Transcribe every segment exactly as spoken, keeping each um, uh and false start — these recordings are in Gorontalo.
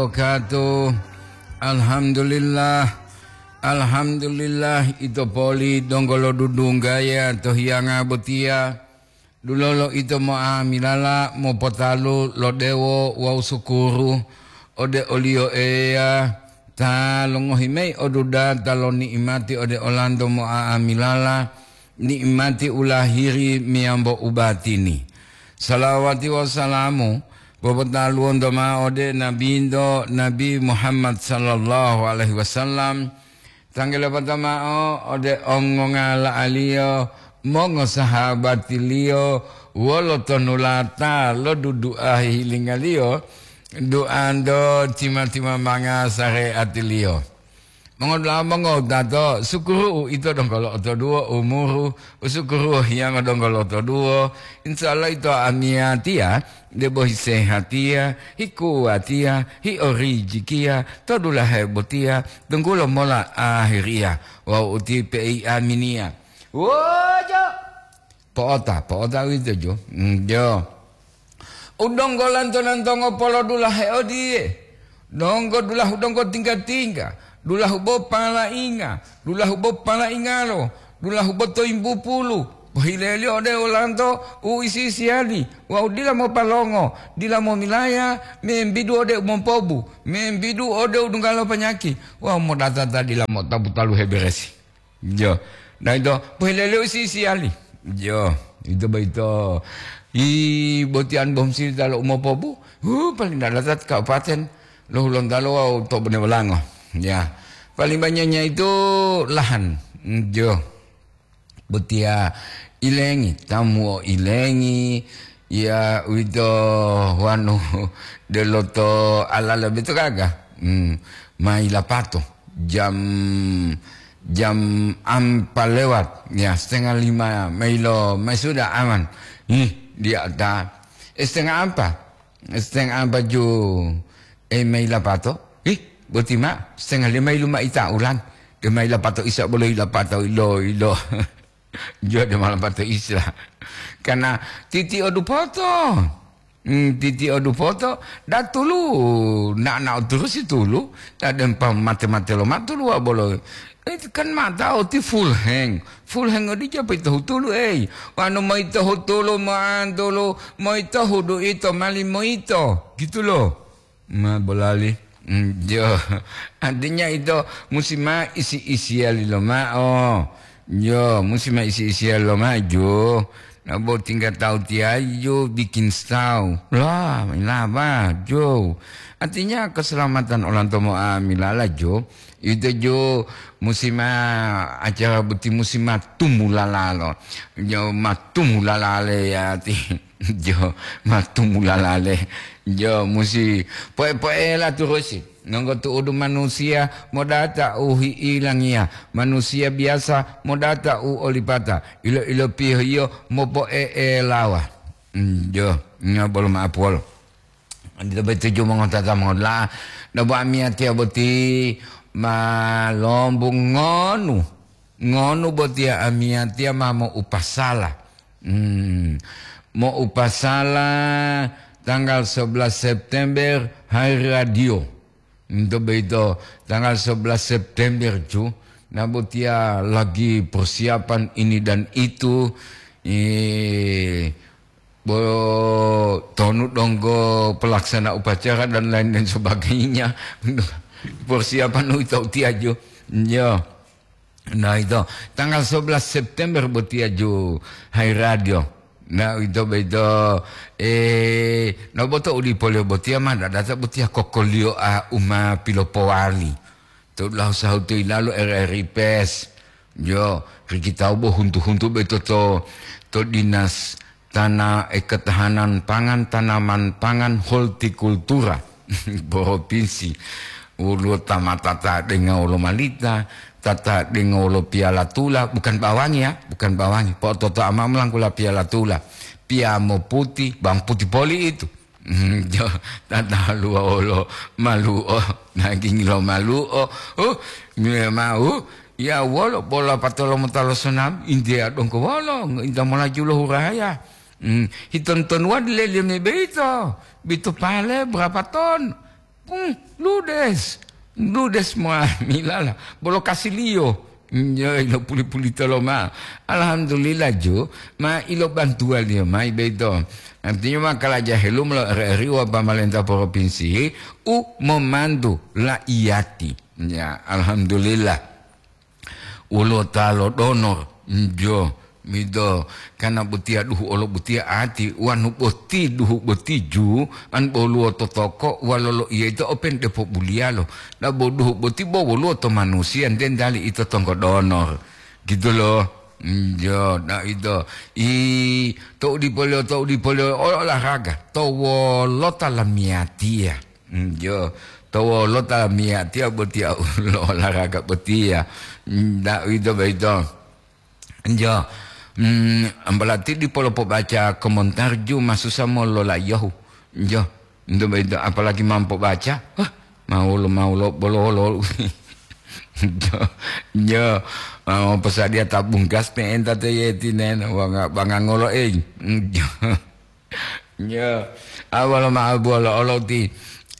Wabarakatuh. Alhamdulillah. Alhamdulillah, ito poli donggo lo dudunggaya to hiyanga botiya. Dulolo ito mo'amilala mopotalu lo dewo wawu sukuru ode oliyo Eya ta longohi mayi odudata lo ni'imati ode olanto mo'amilala, ni'imati u lahiri meyambo u batini. Salawati wawu salamu popotaluwonto ma'o ode Nabinto, Nabi Muhammad sallallahu alaihi wasallam, tanggulo poto ma'o ode ongongala'aliyo, mongosahabatiliyo, wolo tonulata lo dudu'a hihilingaliyo, duanto tima-timamanga sareatiliyo. Mongodula'a mongowutato, sukuru uito donggo lo'otoduwo umuru, u sukuru hiyango donggo lo'otoduwo, insya Allah ito amiyatiya, debo hisehatiya, hikuwatiya, hiorijikiya, to dulahe botiya, tunggulo mola ahiriya, wawu uti pei aminiya. Wojo! Po'ota, po'ota uwito jo. Mm, jo. U donggo lanto-lantongo polodulahe odiye, donggo dulahu donggo tingga-tingga, dulahu bo palainga, dulahu bo palaingalo, dulahu bo toyimbupulu, pohileliyo ode olanto u isi-isiyali, wawu dila mopalongo, dila momilaya, membidu ode u mompobu, membidu ode u dungga lo panyaki, wawu modata ta dila motapu taluhe beresi. Jo. Nah, ito, pohileliyo isi-isiyali. Jo, ito boyito. I botiyan bom sili talo umopobu. Hu, paling dalatat kabupaten lo Hulontalo wawu to Bonewolango. Ya. Paling banyaknya itu lahan. Jo. Botiya ilengi, tamu o ilengi, ya, uwito wanu deloto alala boyito gaga. Hmm, mayi lapato jam, jam ampa lewat, ya, setengah lima mayi lo, mayi sudah aman. Ih, dia ta, eh, setengah ampa, setengah ampa ju, eh, mayi lapato. Ih, boti ma, setengah lima ilu mayi ta ulan. De mayi lapato isa bolo ila pato ilo, ilo. Jo de ma lapato isa. Karena titi odu poto. Hmm, titi odu poto, datulu, na, na oturusi tulu, ta dempa mate-mate lo matulu wa bolo. Eh, kan mata oti full hang. Full hang odi japa ito hutulu, ei. Wanu mo ito hutulu, mo antulu, mo ito hudu ito, mali mo ito. Gitu loh. Ma bolali. Hmm, jo. Artinya ito musi ma isi-isiyali lomao. Jo, musi ma isi-isiyali lomao, jo. Nabo tinggal tahu tiayu bikin stau. Lah, laba, jo. Artinya keselamatan orang tomo amilala, jo. Ito, jo, musi ma acara boti musi ma tumulala lo. Jo, ma tumulala le ya ti. Jo, ma tumulala le. Jo, musi poe-poela turusi. Nonggo tu'udu manusiya modata u hi'ilangiya, manusiya biyasa modata u olipata, ilo-ilopiyohiyo mopo'e'elawa. Mm, jo, nya bolo ma'apuwolo. Odito boyito ju mongotata mongola, dabo amiyatiya boti ma lombungonu. Ngonu botiya amiyatiya ma mo'upasala. Hmm. Mo'upasala tanggal sebelas September hari radio. Untuk begitu, tanggal sebelas September ju, nah botiya lagi persiapan ini dan itu, eh, bo, tonu donggo pelaksana upacara dan lain dan sebagainya. Persiapan itu tiaju. Ya. Nah, ito, tanggal sebelas September botiya ju hai radio. Nah, ito boyito, eh, no boto uli polio botiya ma dadata botiya kokoliyo a uma pilopowali. To lahu sahutu ilalu R R I Pes. Jo, rikitau bo huntu-huntu boyito to, to dinas Tana-, eh, Ketahanan Pangan, Tanaman Pangan, Hortikultura Provinsi. Woluwo tamata ta denga wolo malita, tata denga wolo piyala tula, bukan bawangi ya, bukan bawangi. Po'ototo ama mulangkula piyala tula. Piyamo puti, bang puti poli itu. Jo, tata luwa wolo malu'o, daging lo malu'o. Uh, memang, uh, ya wolo bola patolo motalo sonam, India dongko wolo, inta molaju lo huraya. Hmm, hiton-tonuwa dileleme beito, bito pale berapa ton? Hmm, ludes. Ludes muamilala. Bolo kasiliyo. Nyo ilo puli-pulito loma. Alhamdulillah, ju, ma ilo bantuwaliyo mayi boyito. Artinya ma kalaja helu molo R R I wa pamalenta propinsi u momantu la'iyati. Ya, alhamdulillah. Woluwo ta lodonor, njo, mido, kana botiya duhu olo botiya ati, wanu boti duhu boti ju, an boluwo to toko, walo loiya ito open depo buliyalo. Dabo duhu boti bo woluwo to manusiya, nte ntali ito tonggo donor. Gitu lo. Njo, na ito. I, to udipoliyo, to udipoliyo, olahraga. To wolota lamiyatiya. Njo, to wolota lamiyatiya botiya lo olahraga botiya. Nda ito boyito. Njo, mm, berarti dipolo pobaca komentar ju masusa molola'iyahu. Njo, nto boyito apalagi mampo baca. Wah, maulo, maulo, bolo, bolo. Njo, njo, mau posadiya tabung gas pe'enta to yetinen, wanga, wanga ngolo, eh. Njo. Ya, awalo ma'o buwolo olo ti.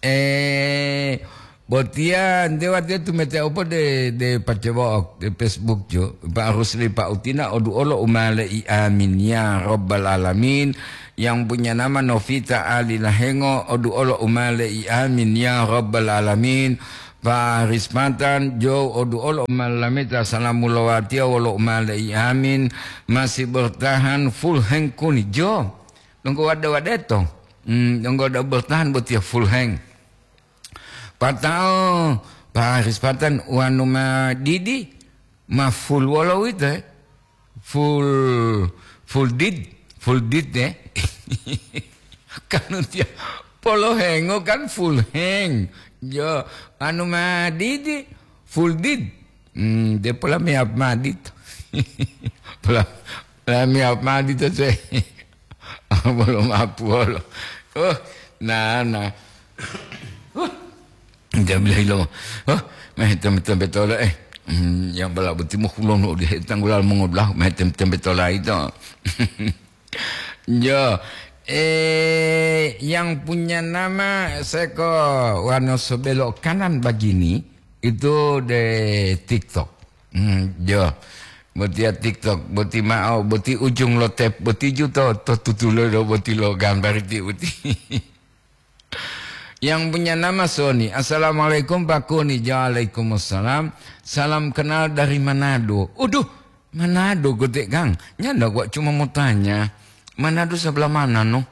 Eh, botiya nte watiya tumete opo de, de pacewo'ok de Facebook jo. Pak Rusli Pak Utina odu'olo umale'i amin ya rabbal alamin. Yang punya nama Novita Ali Lahengo odu'olo umale'i amin ya rabbal alamin. Pak Rispatan jo odu'olo umalameta salamu lowatiya wolo umale'i amin. Masih bertahan full hand kuni jo. Donggo wade-wadeto. Hmm, donggo da bertahan botiya full hang. Patao, Pak Haris Patan, wanu ma didi, ma full wolo wito, eh? Full, full did, full did, eh? Kan utia polo hengo kan full hang. Jo, anu ma didi, full did. Hmm, de pola mi ap madit. Pola, pola mi ap madit se. Bolo mapuolo. Oh, na, na. Oh, dia bilang lo. Oh, meh tembe-tembe tola, eh. Hmm, yang bala beti mo kulon di tanggulal mengodah, meh tem-, tembe tola itu. Ya, eh, yang punya nama seko wano sebelok kanan begini, itu de TikTok. Hmm, ya. Botiya TikTok, boti ma'o, boti ujung lo tep, boti ju to, to tutulo do, boti lo gambar ti uti. Yang punya nama Sony. "Assalamualaikum, Pak Kuni." "Waalaikumsalam. Salam kenal dari Manado." Uduh, Manado gede, Kang. Nyanda gua cuma mau tanya, Manado sebelah mana, no?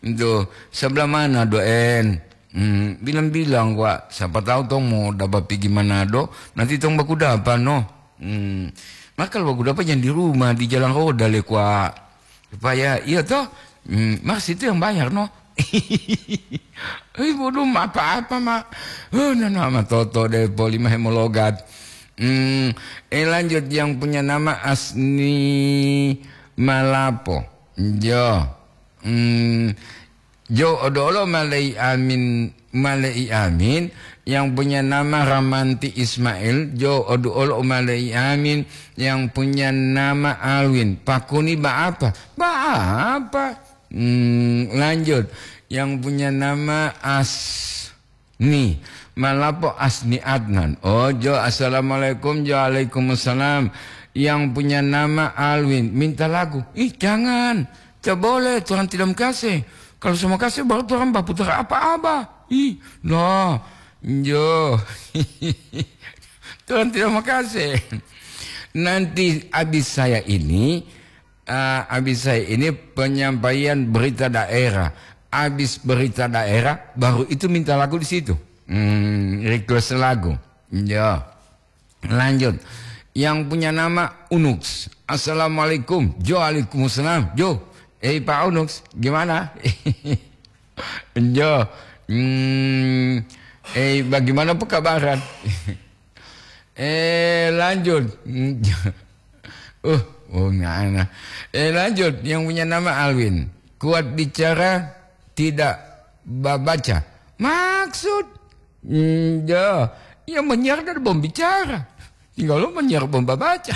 Itu sebelah mana, Doen? Hmm, bilang-bilang, Wak, siapa tahu tong mau dapat pergi Manado, nanti tong baku dapat, no. Hmm, maka baku dapat yang di rumah, di jalan roda le, Wak. Supaya, iya toh? Hmm, Mas itu yang bayar, no. Eh, bodoh, apa-apa, Mak. Oh, nana, ma toto deh, poli mah mau logat. Hmm, eh, lanjut, yang punya nama Asni Malapo. Jo. Hmm, Jo odolo malei amin, malei amin, yang punya nama Ramanti Ismail, jo odolo malei amin, yang punya nama Alwin. Pakuni ba apa? Ba apa? Hmm, lanjut. Yang punya nama Asni. Malapo Asni Adnan. Oh, jo, assalamualaikum, jo, waalaikumsalam. Yang punya nama Alwin, minta lagu. Ih, jangan. Tidak boleh, Tuhan tidak mengkasih. Kalau semua kasih, baru Tuhan bapu apa-apa. Ih, no. Jo. Tuhan tidak makasih. Nanti habis saya ini, ah, habis saya ini penyampaian berita daerah. Habis berita daerah, baru itu minta lagu di situ. Hmm, request lagu. Ya. Lanjut. Yang punya nama Unux. "Assalamualaikum." "Jo, waalaikumsalam." "Jo, eh, Pak Unux, gimana?" "Jo, hmm, eh, bagaimana pekabaran?" Eh, lanjut. Uh, oh, nggak enak. Eh, lanjut. Yang punya nama Alwin. "Kuat bicara, tidak babaca." Maksud? Hmm, ya, yang menyiar dari bom bicara. Tinggal lo menyiar bom babaca.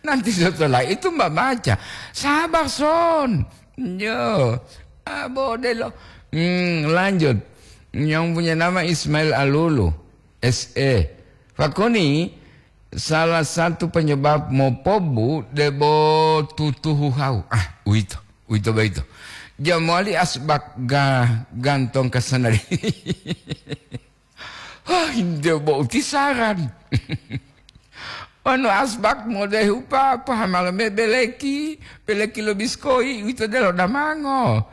Nanti setelah itu Mbak baca. Sabar, Son. Yo. Ah, bodelo. Hmm, lanjut. Yang punya nama Ismail Alulu, S E. Pakuni, salah satu penyebab mopobu debo tutuhu hau. Ah, uwito, uwito boyito. Jamowali asbak ga-, gantong kasanali. Hah, inde bo utisaran. Wonu asbak modehu pa, pahamalo me beleki, beleki lo biskoyi, uwito delo damango.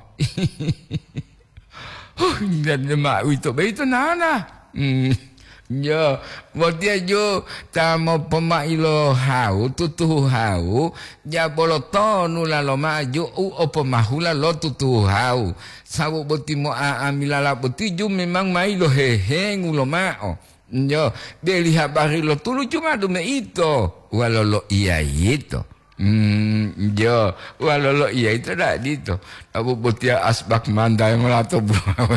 Huh, dede ma uwito boyito nana. Hmm, jo, botiya jo ta mopomai lo hau, tutuhu hau, ja bolo tonu lalo maju u opomahula lo tutuhu hau. Sabu boti mo'a'amilala boti ju memang mayi lo hehengu lomao. Jo, deli habari lo tulu cuma dume ito, walolo iya yito. Hmm, jo, walolo iya ito da dito. Abu botiya asbak manda yang lato buawa.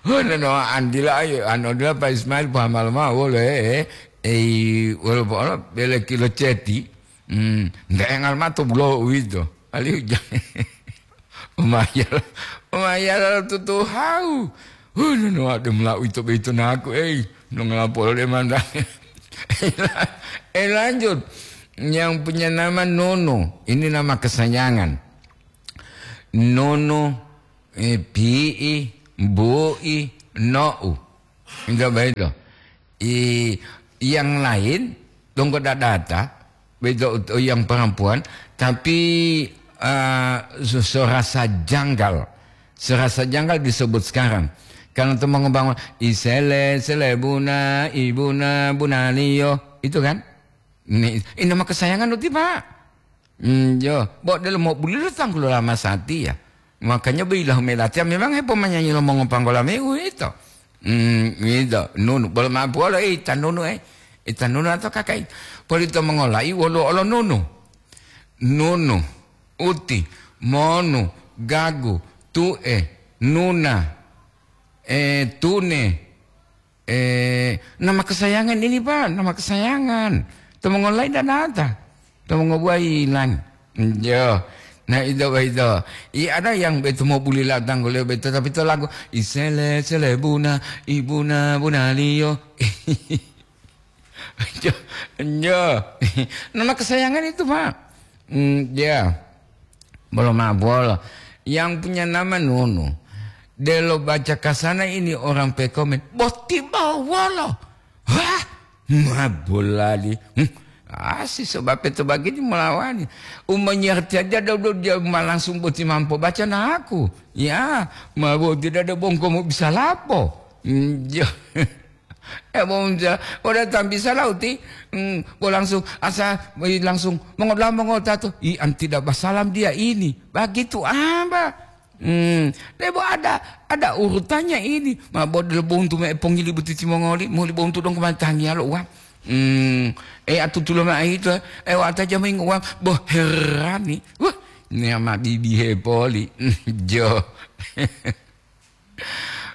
Hono no andila ayo, ano dila Pak Ismail pahamal ma wolo, eh, eh, eh, wolo, wolo, bele kilo ceti. Hmm, nda engal mato bulo uwito. Alihu ja-, umayal, umayal tutu hau. Huh, nono ade mula uwito boyito naku, ei, nongala polo de manda. Eh, lanjut. Yang punya nama Nono. Ini nama kesayangan. Nono, eh, pi'i, bu'i, no'u. Itu apa itu? I, yang lain, donggo dadata, begitu yang perempuan, tapi, eh, se-, serasa janggal. Serasa janggal disebut sekarang. Karena teman ngebangun, "Isele, selebuna, ibuna, bunaliyo." Itu kan? Ini, ini nama kesayangan uti, Pak. Hmm, jo, bo delo mo bulilo tanggulo lama satiya. Makanya bilahu melatiya memang hepomanyanyi lo mongopanggola me uwito. Hmm, uwito. Nunu, bolo mapu olo, eh, ita nunu, eh. Ita nunu atau kakai. Polito mongolai wolo olo nunu. Nunu, uti, monu, gagu, tu'e, nuna, eh, tune, Eh, nama kesayangan ini, Pak, nama kesayangan. To mongolai danata. To mongobuwa ilang. Yo. Nah, itu, itu. I ada yang betu mau buli latang kuliah betu, tapi to lagu, "Isele, selebuna, ibuna, bunaliyo." Yo. Yo. Nama kesayangan itu, Pak. Hmm, ya. Bolo ma'o bolo. Yang punya nama Nunu. Delo baca kasana ini orang pekomen. Boti bawolo. Wah, ma bolali. Hmm. Ah, si sebab itu begini melawani. Umanyarti aja dulu dia ma langsung boti mampu baca naku. Ya, ma boti dada bongko mau bisa lapo. Hmm, ya. Eh, bo unja, bo datang bisa lauti, hmm, bo langsung asa, bo langsung mongoda'a mongotatu, "Ih, an tidak basalam dia ini." Begitu apa? Hmm, debo ada, ada urutannya ini. Ma bo delo bontu me pongili butiti mongoli, moli bontu dong kemantangi alo uang. Hmm, eh, atutulo ma itu, eh, wata jamai uang, bo herani. Wah, ini ama bibi hepoli. Jo.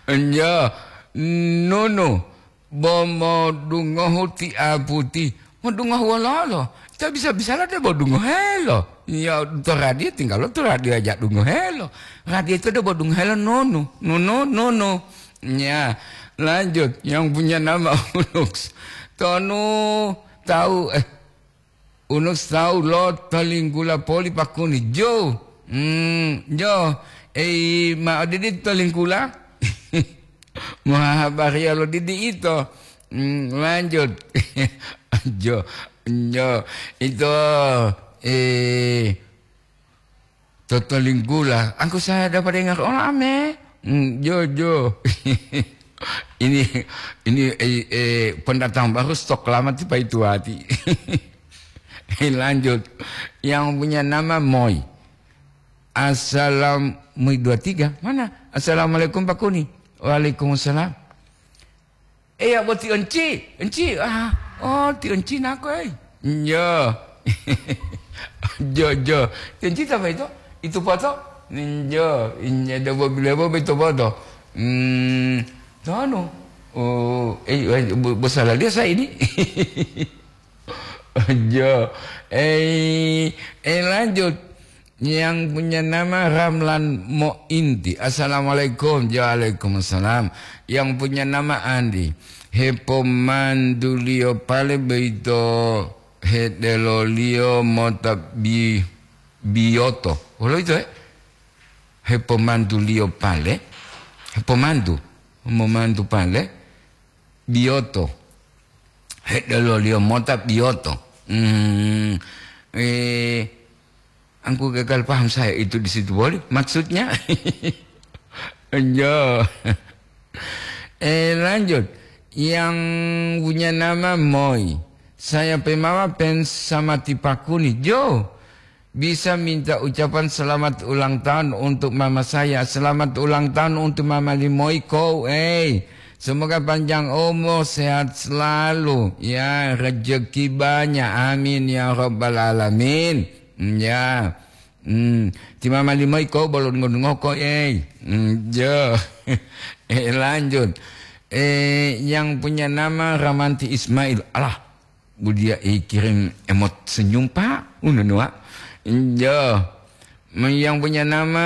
Enja, Nunu, bo modungohu ti aputi. Modungohu wololo? Ta bisa-bisala debo dungohelo. Ya, to radio tinggal to radio aja dungohelo. Radio itu debo dungohelo Nunu, Nunu, Nunu. Ya, lanjut. Yang punya nama Unux. Tonu tahu, eh, Unus tawu lo tolinggula poli pakuni. Jo, hmm, jo, ei, ma odidi tolinggula? Mohahabariya lo didi ito. Hmm, lanjut. Jo, jo, ito, eh, Toto linggula, angku saya dapat dengar, "Oh, ame." Hmm, jo, jo. Ini, ini, eh, eh, pendatang baru stok lama tiba itu hati. Eh, lanjut. Yang punya nama Moy. Assalam, Moy dua tiga. Mana? "Assalamualaikum, Pak Kuni." "Waalaikumsalam." "Eya, bo ti Enci, Enci." "Ah, oh, ti Enci nako, ei." "Njo." "Jo, jo. Ti Enci ta boyito? Itu poto?" "Njo, injo debo bilebo boyito poto." "Hmm, tonu?" "Oh, eh, eh, bo-, bosalaliyo sa ini." Jo, eh, eh, lanjut. Yang punya nama Ramlan Mointi. Assalamualaikum. Waalaikumsalam. Yang punya nama Andi. Hepomanduliyo pale boyito hedeloliyo mota bi-, biyoto. Wolo ito, eh? Hepomanduliyo pale. Hepomandu. Momandu pale. Biyoto. Hedeloliyo mota biyoto. Hmm. Eh, Angku gagal paham saya itu di situ boleh maksudnya. Enjo. Eh, lanjut. Yang punya nama Moi. Saya pemawa pen sama tipakuni. Jo, bisa minta ucapan selamat ulang tahun untuk mama saya. Selamat ulang tahun untuk mama Limoiko. Eh, semoga panjang umur, sehat selalu. Ya, rezeki banyak. Amin ya rabbal alamin. Ya. Hmm, ti mama Limoiko bolo dungo-dungo ko, eh. Hmm, jo. Eh, lanjut. Eh, yang punya nama Ramanti Ismail. Alah, bu dia, eh, kirim emot senyum, Pak. Uno nua. Jo. Hmm, yang punya nama,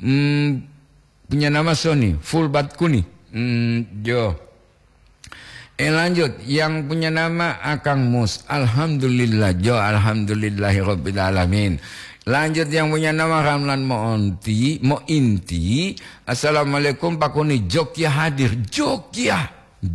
hmm, punya nama Sony, full bat kuni. Hmm, jo. Eh, lanjut, yang punya nama Akang Mus. Alhamdulillah, jo, alhamdulillahirabbil alamin. Lanjut, yang punya nama Ramlan Moonti, Mointi. Assalamualaikum, Pak Kuni. Jogja hadir. Jogja.